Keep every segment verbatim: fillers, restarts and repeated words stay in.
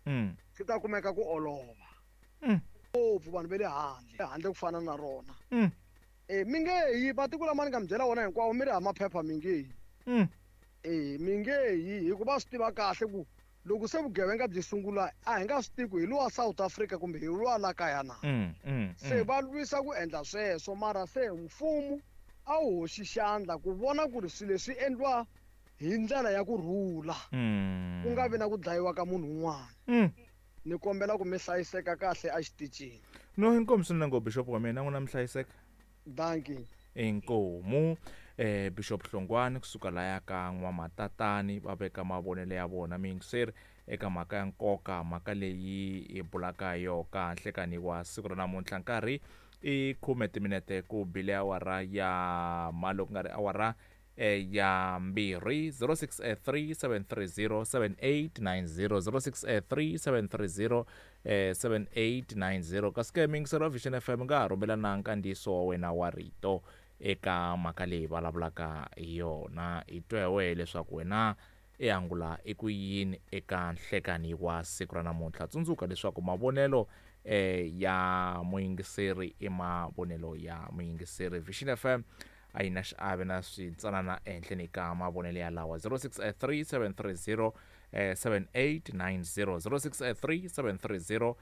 Mm. Swi ta kumeka ku olova. Mm. Ngopfu vanhu va le handle, handle ku fana na rona. Mm. Eh mi nge yi matiko lama ni nga mi byela wona hinkwawo mi ri ha maphepha mi nge yi. Mm. Eh mi nge yi hikuva swi tiva kahle ku loko se vugevenga byi sungula a hi nga swi tivi ku hi luwa South Africa kumbe hi luwa la kaya na. Mm, mm, Se mm. va lwisa ku endla sweswo mara se mfumo a wu hoxi xandla ku vona ku ri swilo leswi endliwa hi ndlela ya ku rhula. Mm. Ku nga vi na ku dlayiwa ka munhu un'wana. Mm. Ni kombela ku mi hlayiseka kahle exitichini. No inkomu swinene ngopfu Bishop wa mina n'wina mi hlayiseka. Dankie. Inkomu eh Bishop Hlongwane kusuka laya ka N'wamatatani va veka mavonelo ya vona miyingiseri eka mhaka ya nkoka mhaka leyi hi bulaka hi yo ka nhlekani wa siku ra namuntlha nkarhi i khume timinete ku bile awara ya malo ku nga ri awara eh, ya mbirhi zero six three seven three zero seven eight nine zero zero six three seven three zero eh, seven eight nine zero kasi ke miyingiseri wa Vision F M nga ha rhumela na nkandziyiso wa wena wa rito eka mhaka leyi vulavulaka hi yona hi twa hi wehe leswaku wena i angula i ku yini eka nhlekani wa siku ra namuntlha tsundzuka leswaku mavonelo eh, ya muyingiseri i mavonelo ya muyingiseri Vision F M a yi na xiave na switsanana ehenhleni ka mavonelo ya lawa zero six three seven three zero seven eight nine zero zero six three seven three zero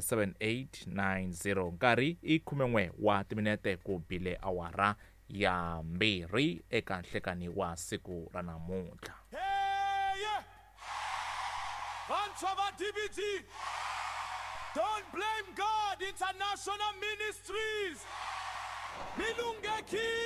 seven eight nine zero nkarhi i khumen'we wa timinete ku bile awara ya mbirhi eka nhlekani wa siku ra namuntlha. Hey! Vantshwa va D B G, Don't Blame God International Ministries, mi lunghekile.